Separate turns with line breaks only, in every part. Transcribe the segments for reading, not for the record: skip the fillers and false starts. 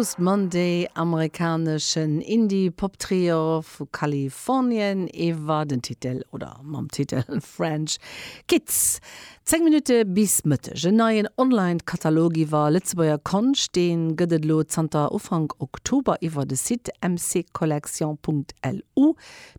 Post Monday, amerikaneschen Indie-Pop-Trio vu Kalifornien, iwwer den Titel, oder mam Titel French Kids. 10 Minutte bis Mëtteg. En neien Online-Katalog iwwer Lëtzebuerger Konscht, dee gëtt et elo zanter Ufank Oktober iwwer de Site mccollection.lu.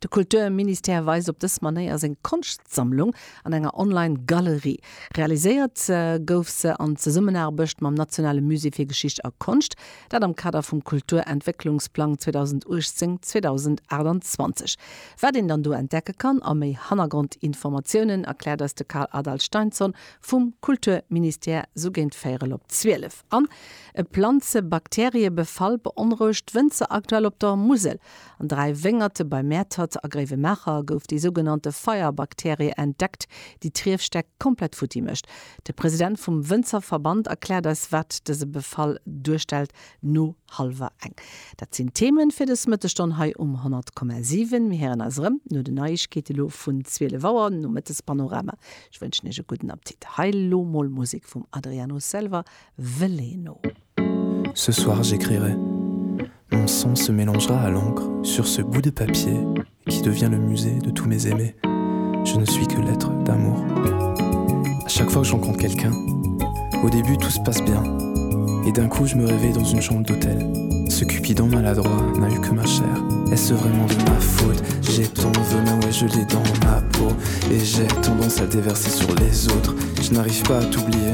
De Kulturministère weist op dës Manéier seng Konschtsammlung an enger Online-Galerie. Realiséiert gouf se an Zesummenaarbecht mam Nationale Musée fir Geschicht a Konscht, dat am Kader vum Kulturentwécklungsplang 2018, 2028. Wat een dann do entdecke kann a méi Hannergrondinformatiounen erkläert eis de Karl Adalsteinsson vum Kulturministère sou géint véierel op 12. An e Planze-Bakteriebefall beonrouegt d'Wënzer aktuell op der Musel. An 3 Wéngerte bei Mäertert a Gréiwemaacher gouf déi sougenannte Feierbakterie entdeckt, déi d'Riefstäck komplett futti mécht. De President vum Wënzerverband erkläert eis, wat dëse Befall duerstellt, no hallwer eng. Dat sinn d'Themen fir dës Mëttesstonn hei um 100,7. Mir héieren eis erëm no den Neiegkeete lo vun 12 Auer, nom Mëttespanorama. Ech wënschen iech e gudden Appetit. Hei lo mol Musek vum Adriano Selva, Veleno.
Ce soir j'écrirai. Mon sang se mélangera à l'encre sur ce bout de papier qui devient le musée de tous mes aimés. Je ne suis que l'être d'amour. À chaque fois que je rencontre quelqu'un, au début tout se passe bien. Et d'un coup je me réveille dans une chambre d'hôtel. Ce cupidon maladroit n'a eu que ma chair. Est-ce vraiment de ma faute J'ai ton venin, ouais je l'ai dans ma peau. Et j'ai tendance à déverser sur les autres. Je n'arrive pas à t'oublier.